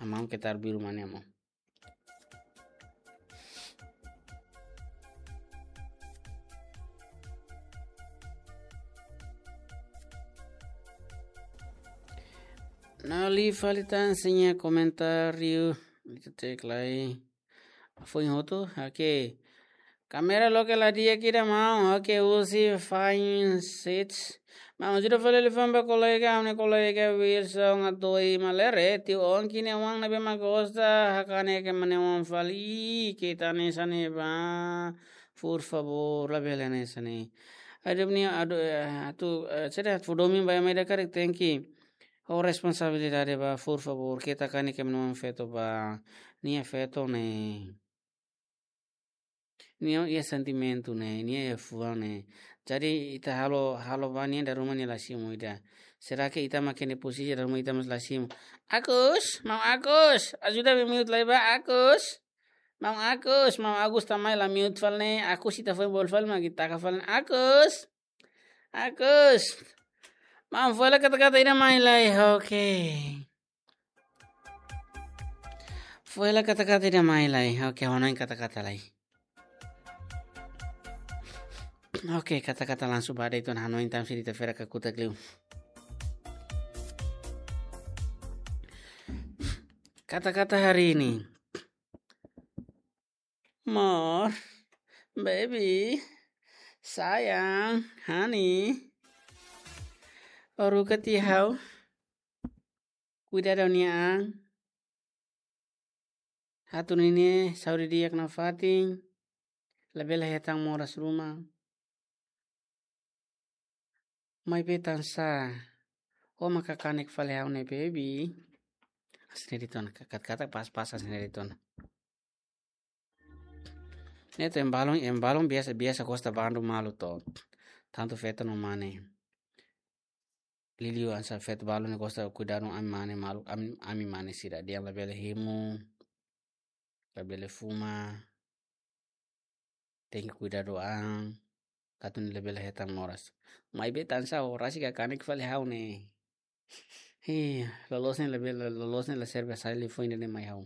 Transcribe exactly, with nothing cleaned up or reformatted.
Amam keta arbiru mane amam. Nali fali tan sira-nia komentáriu. Ita cek lai. Foin hotu, oke. Kámera loke la di'ak ida maun, oke, husi fine sets. Maun, ajuda fali liafuan ba kolega, ha'u-nia kolega Wilson Atoi Malere, tiu Ongki nia oan ne'ebé mak gosta hakanek ema nia oan fali, keta hanesan ne'e ba, por favor, labele hanesan ne'e. Adu nia, adu, eh, atu, eh, sede fó domin ba ema ida karik tenke ho responsabilidade ba, por favor, keta hakanek ema nia oan feto ba, nia feto ne'e. Nia iha sentimentu ne'e, nia iha fuan ne'e. Jadi ita halo, halo ba nia dala ruma nia la simu ida. Será que ita mak iha nia posisi dala ruma ita mós la simu? Agus, maun Agus, ajuda ami mute lai ba, Agus. Maun Agus, maun Agus ita mai la mute fali ne'e, Agus ita foin bolu fali mak ita taka fali ne'e, Agus. Agus. Maun, fó hela kata-kata ida mai lai, oke. Fó hela kata-kata ida mai lai, oke, hanoin kata-kata lai. Oke, kata-kata langsung ba de'it ona, hanoin tan sira ita fera kakutak liu. Kata-kata hari ini. Amor, baby, sayang, honey. Haruka tiha ha'u. Kuidadu ha'u-nia an. Hatu ninia saúde di'ak nafatin. Labele hetan moras ruma. Maibé tansá ó mak hakanek fali ha'u ne'e, baby. Hanesan ne'e de'it ona, kata-kata pas-pas hanesan ne'e de'it ona. Ne'e atu ema balun, ema balun biasa, biasa gosta bandu malu to. Tantu feto no mane. Liuliu hanesan feto balun ne'e gosta kuidadu ami mane malu, ami, ami mane sira dehan labele hemu, labele fuma, tenke kuidadu an, atu nune'e labele hetan moras. Maibé tansá ó rasik hakanek fali ha'u ne'e. Hi, loloos ne'e labele, loloos ne'e la serve sai liafuan ida-ne'e mai ha'u.